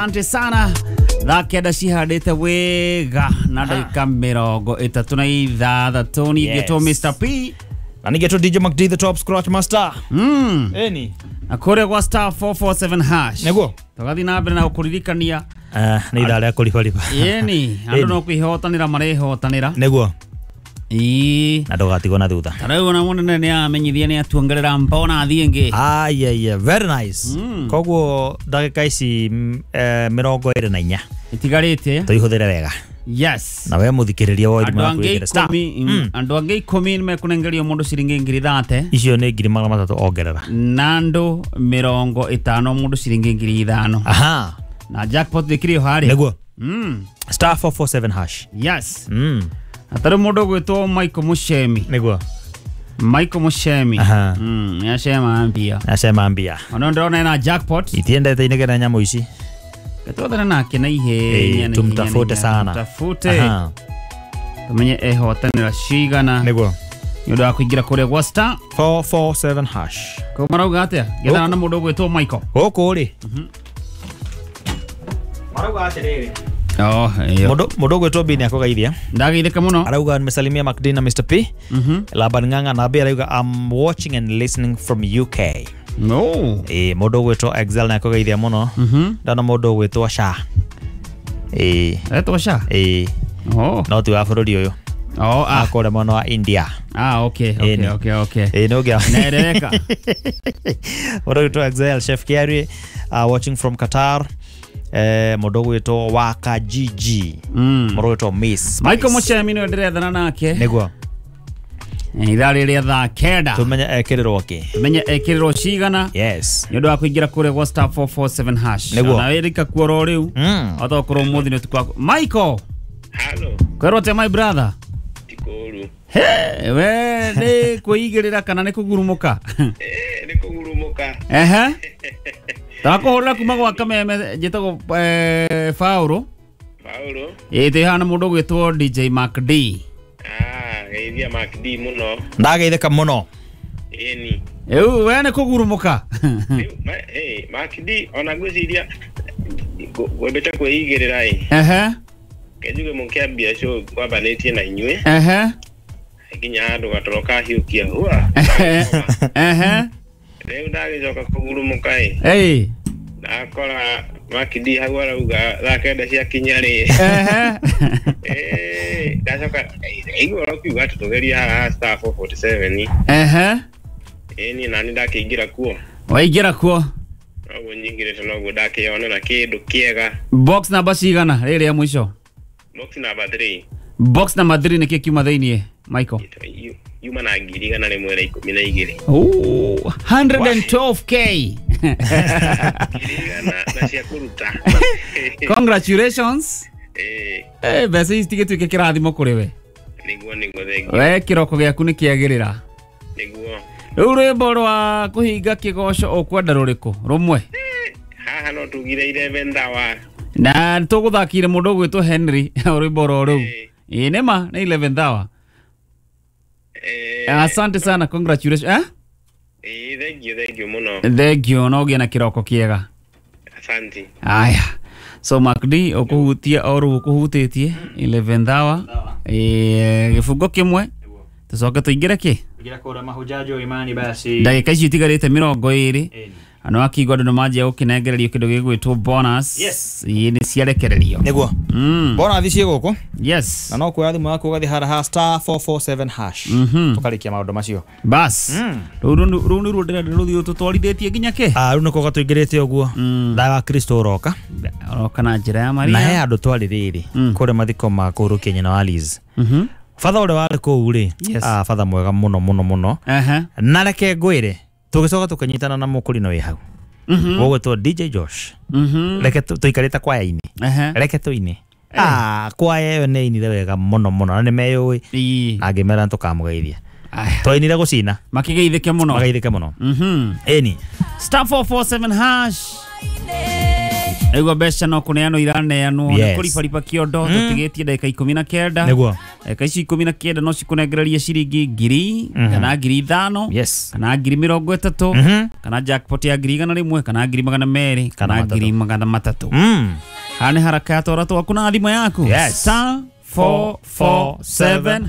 Asante sana. Thaa 9 cihandĩte wega na ndagĩka 36 ningĩtwo Mr. P na ningĩtwo DJ McD the top scratch master. Eni na kũrĩa gwa star 447 hash nĩguo tũgathiĩ na mbere na gũkũririkania nĩ ithaa rĩa kũribariba. Ĩni andũ no kwĩhotanĩra marehotanĩra nĩguo ĩĩ na ndũgatigwo na thutha. Ta rĩu ona mũnene nĩ amenyithia nĩ atuongerera mbona ĩngĩ. Aya very nice. Koguo ndagĩka ici 24 itigarĩte tũihũthĩre wega. Yes. Na we mũthikĩrĩria wa thimũ yaku ĩkĩre star. Andũ angĩ 10 nĩ mekũnengerio mũndũ ciringi 30,000. Icio nĩ 300,000 ongerera. Na andũ 50 mũndũ ciringi 5,000. Aha. Na jackpot ĩkĩrĩ o harĩa. Nĩguo. Star 447 hash. Yes. Atarĩ mũndũ ũgwĩtwo Michael Mushemi. Nĩguo. Michael Mushemi. Nĩacema mbia. Nĩacema mbia. Ona ndĩrona ena jackpot. Itiendete inegene nyamũ ici. Twethane nake na ihenya. Tumtafute sana. Tumtafute. Tumenye ehotanĩra cigana. Nĩguo. Nĩ ũndũ wa kũingĩra kũrĩa gwa star 447 hash. Koguo marauga atĩa? Gethana na mũndũ ũgwĩtwo Michael. Gũkũ rĩ. Marauga atĩrĩrĩ. Oh, Mũndũ ũgwĩtwo B nĩ akũgeithia. Ndageithĩka mũno. Arauga nimesalimia McD na Mr. P. Laban Ng'ang'a na B arauga I'm watching and listening from UK. No. Mũndũ ũgwĩtwo Excel nĩ akũgeithia mũno. Ndona mũndũ ũgwĩtwo Sha. Etwo Sha? Oh. No ti wa bũrũri ũyũ. Oh, ah. Akũrĩa mwena wa India. Ah, okay, okay, okay, okay. No gĩa. Naeleweka. Mũndũ ũgwĩtwo Excel, Chef Kiari, watching from Qatar. Mũndũ ũgwĩtwo Waka GG. Mũndũ ũgwĩtwo Miss Michael Mushemi nĩwe ndĩrethana nake. Nĩguo. Ithaa rĩrĩa thaa 9. Tumenye ekĩrĩrwo kĩ. Tumenye ekĩrĩrwo cigana. Yes. Nĩ ũndũ wa kũingĩra kũrĩa gwa star 447 hash. Nĩguo. Na wĩrĩka kuo oro rĩu. Otokorwo ũmũthĩ nĩ ũtukũ waku. Michael. Hello. Kwĩrwo atĩa my brother? Tikũru. He, we nĩ kwĩigĩrĩra kana nĩ kũgurumũka? Nĩ kũgurumũka. Ehe. Ndakũhũrĩra kuma gwa Kameme njĩtagwo Paũlũ. Paũlũ. Ĩĩ twĩ haha na mũndũ ũgwĩtwo DJ McD. Geithia McD mũno. Ndageithĩka mũno. Ĩni. Rĩu we nĩ kũgurumũka. McD ona ngwĩciria ngwendete kwĩigĩrĩra ĩ. Ehe. Kenjuge mũkĩambia show ngwambanĩtie na inyuĩ. Ehe. Nginya handũ gatoro kahiũkia hua. Ehe. Rĩu ndagĩcoka kũgurumũka ĩ. Ĩĩ. Ndakora McD hau arauga thaa 9 ciakinya rĩ. Ehe. Ndacoka igua ũkiuga atĩ tũgerie haha star 447. Ehe. Ĩni nani ndakĩingĩra kuo. Waingĩra kuo. Noguo nyingĩrĩte noguo ndakĩonera kĩndũ kĩega. Box number cigana rĩrĩ ya mũico? Box number 3. Box number 3 nĩkĩ kiuma thĩiniĩ Michael? Yuma na 112. Oh, 112k. Na cia kũruta. Congratulations. Mbeca ici tigĩtuĩke kĩrathimo kũrĩ we. Nĩguo nĩguo thengiũ. We kĩroko gĩaku nĩ kĩagĩrĩra. Nĩguo. Rĩu rwĩmbo rwa kũhinga kĩgoco ũkwenda rũrĩkũ? Rũmwe. Haha no tugire 11 hour. Na tũgũthakire mũndũ ũgwĩtwo Henry rwĩmbo ro rũu. Ĩĩ nĩma nĩ 11 hour. Asante sana, congratulations. Thank you mũno. Thank you, no ũgĩe na kĩroko kĩega. Asante. Aya. So McD ũkũhutia o rĩu ũkũhutĩtie 11 hour. Gĩbungo kĩmwe. Tũcoke tũingĩre kĩ? Ingĩra kũrĩa mahujaji imani basi. Ndagĩka icio itigarĩte 20. Andũ akĩigua andũ nĩmanjia gũkĩnengererio kĩndũ gĩgwĩtwo bonus. Yes. Ĩĩ nĩ ciarekererio. Nĩguo. Bonus ciĩ gũkũ. Yes. Na no kuoya thimũ yaku ũgathiĩ harĩa ha star 447 hash. Tũkarĩkia maũndũ macio. Bas. Rĩu nĩruo ndĩrenda rũthiĩ tũtwarithĩtie nginya kĩ? Rĩu nĩkuo gatũingĩrĩte ũguo. Thayũ wa Kristo ũroka. Ũroka na njĩra ya Maria. Na he andũ twarĩ rĩrĩ kũrĩa mathiko ma kũhurũkia nyina wa Liz. Batha ũrĩa warĩ kũu rĩ, batha mwega mũno mũno mũno. Na reke ngwĩre tũgĩcoka tũkĩnyitana na mũkũrino wĩ hau. Ũgwĩtwo DJ Josh. Reke tũikarĩte kwaya-inĩ. Reke tũine. Kwaya ĩyo nĩ ĩinire wega mũno mũno na nĩ meyũĩ. Na ngĩmera nĩtũkamũgeithia. Twainire gũcina. Makĩgeithĩke mũno. Mageithĩke mũno. Ĩni. Star 447 hash. Naigua mbeca no kũneanwo iraneanwo, nĩ Yes. kũribariba kĩondo. Tũtigĩtie ndagĩka 19. Nĩguo. Ndagĩka ici 19 no cikũnengererie ciringi 1,000 kana 5,000 kana 30,000 kana jackpot ya 100,000 kana 200,000 kana 300. 300,000. Haha nĩ haraka ya twara twaku na thimũ yaku. Yes. *447#.